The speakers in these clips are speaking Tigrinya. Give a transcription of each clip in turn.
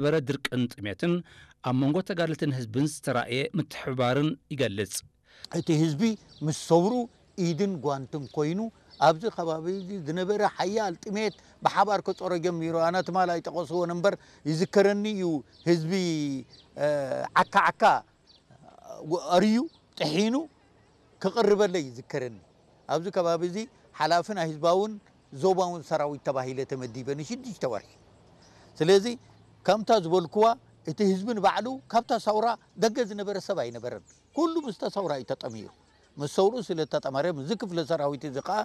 ዝነበረ ድርቅን ጥሜትን ኣብ መንጎ ተጋደልትን ህዝብን ዝተራእየ ምትሕብባርን ይገልጽ። እቲ ህዝቢ ምስ ሰውሩ ኢድን ጓንትን ኮይኑ ኣብዚ ከባቢ እዚ ዝነበረ ሓያል ጥሜት ብሓባር ክፀሮ ጀሚሩ። ኣነ ትማል ኣይጠቐስዎን እምበር ይዝከረኒ እዩ። ህዝቢ ዓካ ዓካ ኣርዩ ጥሒኑ ክቕርበለይ ይዝከረኒ። ኣብዚ ከባቢ እዚ ሓላፊ ናይ ህዝባውን ዞባውን ሰራዊት ተባሂለ ተመዲበ ንሽዱሽተ ወርሒ። ስለዚ ከምታ ዝበልክዋ እቲ ህዝቢ ንባዕሉ ካብታ ሰውራ ደገ ዝነበረ ሰብ ኣይነበረን። ኩሉ ምስታ ሰውራ እዩ ተጠሚሩ። ምስ ሰውሩ ስለ ተጠመረ ምስዚ ክፍለ ሰራዊት እዚ ከዓ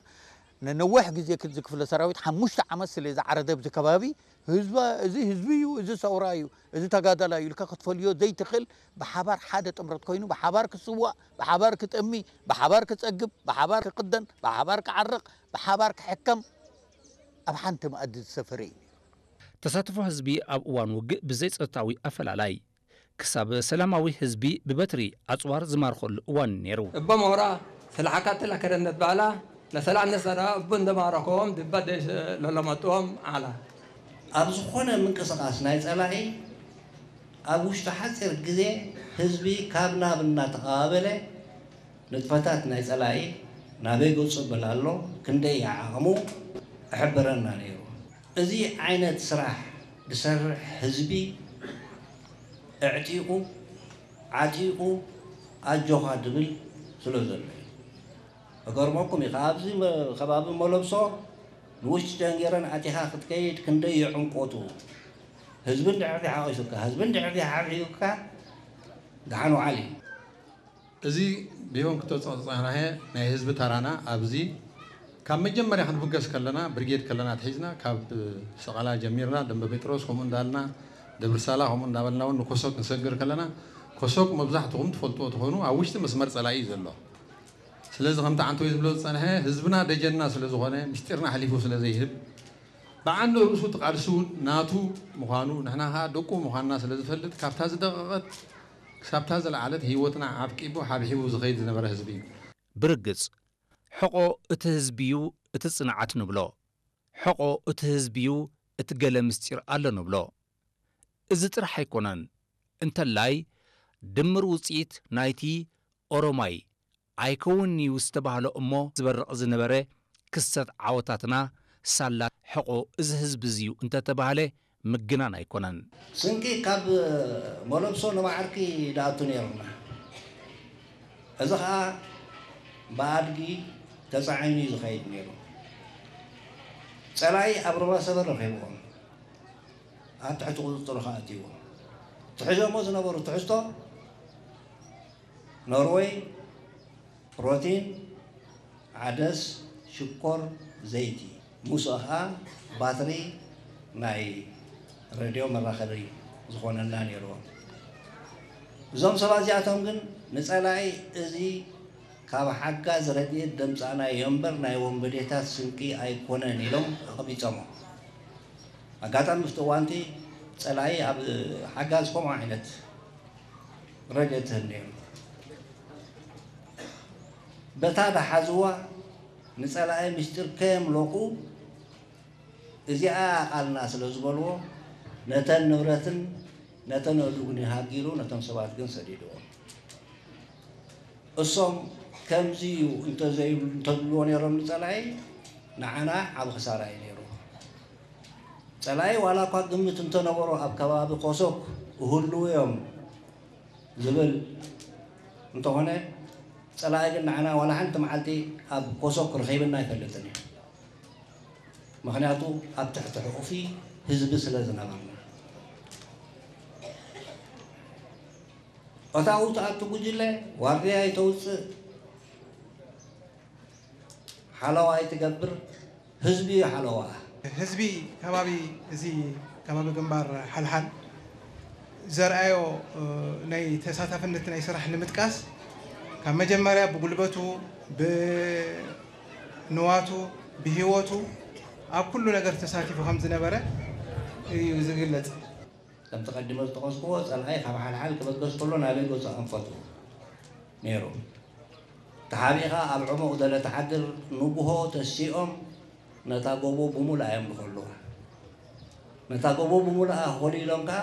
ንነዊሕ ግዜ ክዚ ክፍለ ሰራዊት ሓሙሽተ ዓመት ስለ ዝዓረደ ኣብዚ ከባቢ ህዝባ እዚ ህዝቢ እዩ፣ እዚ ሰውራ እዩ፣ እዚ ተጋዳላይ እዩ ኢልካ ክትፈልዮ ዘይትኽእል ብሓባር ሓደ ጥምረት ኮይኑ ብሓባር ክስዋእ፣ ብሓባር ክጠሚ፣ ብሓባር ክጸግብ፣ ብሓባር ክቕደን፣ ብሓባር ክዓርቕ፣ ብሓባር ክሕከም ኣብ ሓንቲ መኣዲ ዝሰፈረ እዩ። ተሳትፎ ህዝቢ ኣብ እዋን ውግእ ብዘይ ጸጥታዊ ኣፈላላይ ክሳብ ሰላማዊ ህዝቢ ብበትሪ ኣጽዋር ዝማርኸሉ እዋን ነይሩ። እቦ መውራ ስለ ሓካትላ ከደነት ባላ ለሰላም ነሰራ እቡ እንደማረኸዎም ድባ ደሽ ለለመጥዎም ዓላ። ኣብ ዝኾነ ምንቅስቓስ ናይ ጸላኢ ኣብ ውሽጢ ሓፂር ግዜ ህዝቢ ካብ ናብ እናተቐባበለ ንጥፈታት ናይ ጸላኢ ናበይ ገፁ ብል ኣሎ ክንደይ ዓቕሙ እሕብረና ነይሩ። እዚ ዓይነት ስራሕ ዝሰርሕ ህዝቢ እዕጢቑ ዓጢቑ ኣጆኻ ድብል ስለ ዘሎ እዩ። እገርመኩም እዩ ኣብዚ ከባቢ መለብሶ ንውሽጢ ጀንጌረን ኣቲኻ ክትከይድ ክንደይ ይዕምቆቱ ህዝቢ እንድሕር ሓቒሱካ ህዝቢ እንድሕር ሓብሒቡካ ደሓን ውዓል እዩ። እዚ ቢሆን ክተፀናሕየ ናይ ህዝቢ ተራና ኣብዚ ካብ መጀመርያ ክንብገስ ከለና ብርጌድ ከለና ኣትሒዝና ካብ ሰቐላ ጀሚርና ደንበ ጴጥሮስ ከምኡ እንዳልና ደብርሳላ ከምኡ እንዳበልና እውን ንኮሶክ ክንሰግር ከለና ኮሶክ መብዛሕትኹም ትፈልጥዎ ትኾኑ ኣብ ውሽጢ መስመር ፀላኢ እዩ ዘሎ። ስለዚ ከምቲ ዓንተወይ ዝብሎ ዝፀንሐ ህዝብና ደጀንና ስለዝኾነ ምስጢርና ኣሕሊፉ ስለዘይህብ ብዓንደ ርእሱ እቲ ቃልሲ እውን ናቱ ምዃኑ ንሕና ከዓ ደቁ ምዃንና ስለዝፈልጥ ካብታ ዝደቐቐት ክሳብታ ዝለዓለት ህይወትና ዓብቂቡ ሓብሒቡ ዝኸይድ ዝነበረ ህዝቢ እዩ። ብርግፅ ሕቖ እቲ ህዝቢ'ዩ እቲ ፅንዓት ንብሎ። ሕቖ እቲ ህዝቢ'ዩ እቲ ገለ ምስጢር ኣሎ ንብሎ። እዚ ጥራሕ ኣይኮነን። እንተላይ ድምር ውፅኢት ናይቲ ኦሮማይ ኣይከውንን'ዩ ዝተባህሎ እሞ ዝበርቕ ዝነበረ ክስተት ዓወታትና ሳላ ሕቖ እዚ ህዝቢ እዚ'ዩ እንተተባህለ ምግናን ኣይኮነን። ስንቂ ካብ መለብሶ ንባዕርኪ ድኣቱ ነይሩና። እዚ ኸኣ ብኣድጊ ተጻዒኑ እዩ ዝኸይድ ነይሩ። ጸላኢ ኣብ ሩባ ሰበር ረኺብዎም ኣብ ትሕቲ ቁጽጽሩ ኸኣ ኣእትይዎም። ትሕዞሞ ዝነበሩ ትሕዝቶ ኖርወይ፣ ፕሮቲን፣ ዓደስ፣ ሽኮር፣ ዘይቲ፣ ምስኡ ኸኣ ባትሪ ናይ ረድዮ መራኸቢ ዝኾነና ነይርዎ። እዞም ሰባት እዚኣቶም ግን ንጸላኢ እዚ ካብ ሓጋዝ ረድኤት ደምጻእናዮ እምበር ናይ ወንበዴታት ስንቂ ኣይኮነን ኢሎም ኣቐቢጾሞ። ኣጋጣሚ ኣብቲ እዋንቲ ጸላኢ ኣብ ሓጋዝ ከምኡ ዓይነት ረድኤት ትህብ ነይሩ። በታ ደሓዝዋ ንጸላኢ ምስጢር ከየምለቑ እዚኣ ቃልና ስለ ዝበልዎ ነተን ንብረትን ነተን ኣእዱግን ሃጊሩ ነቶም ሰባት ግን ሰዲድዎም። እሶም ከምዚ እዩ እንተዘይብሉ እንተዝብልዎ ነይሮም ንጸላኢ ንዓና ዓቢ ክሳራ እዩ ነይሩ። ጸላኢ ዋላ እኳ ግምት እንተነበሮ ኣብ ከባቢ ኮሶክ እህልዉ እዮም ዝብል እንተኾነ ጸላኢ ግን ንዓና ዋላ ሓንቲ መዓልቲ ኣብ ኮሶክ ረኺብና ኣይፈልጥን እዩ። ምኽንያቱ ኣብ ትሕቲ ሕቑፊ ህዝቢ ስለ ዝነበርና። እታ ኣብኡ ትኣቱ ጉጅለ ዋርድያ ኣይተውፅእ፣ ሓለዋ ኣይትገብር፣ ህዝቢ እዩ ሓለዋ። ህዝቢ ከባቢ እዚ ከባቢ ግንባር ሓልሓል ዘርኣዮ ናይ ተሳታፍነት ናይ ስራሕ ንምጥቃስ ካብ መጀመርያ ብጉልበቱ፣ ብንዋቱ፣ ብህይወቱ ኣብ ኩሉ ነገር ተሳቲፉ ከም ዝነበረ እዩ ዝግለጽ። ከምቲ ቀዲመ ዝጠቐስክዎ፣ ጸላኢ ካብ ሓልሓል ክበገስ ከሎ ናበይ ገጹ ኣንፈቱ ነይሩ። ተሓቢእኻ ኣብ ዕሙቕ ደለ ትሓድር ንጉሆ ተሲኦም ነታ ጎቦ ብሙሉኣ እዮም ዝኸልዋ። ነታ ጎቦ ብሙሉኣ ኾሊሎም ከኣ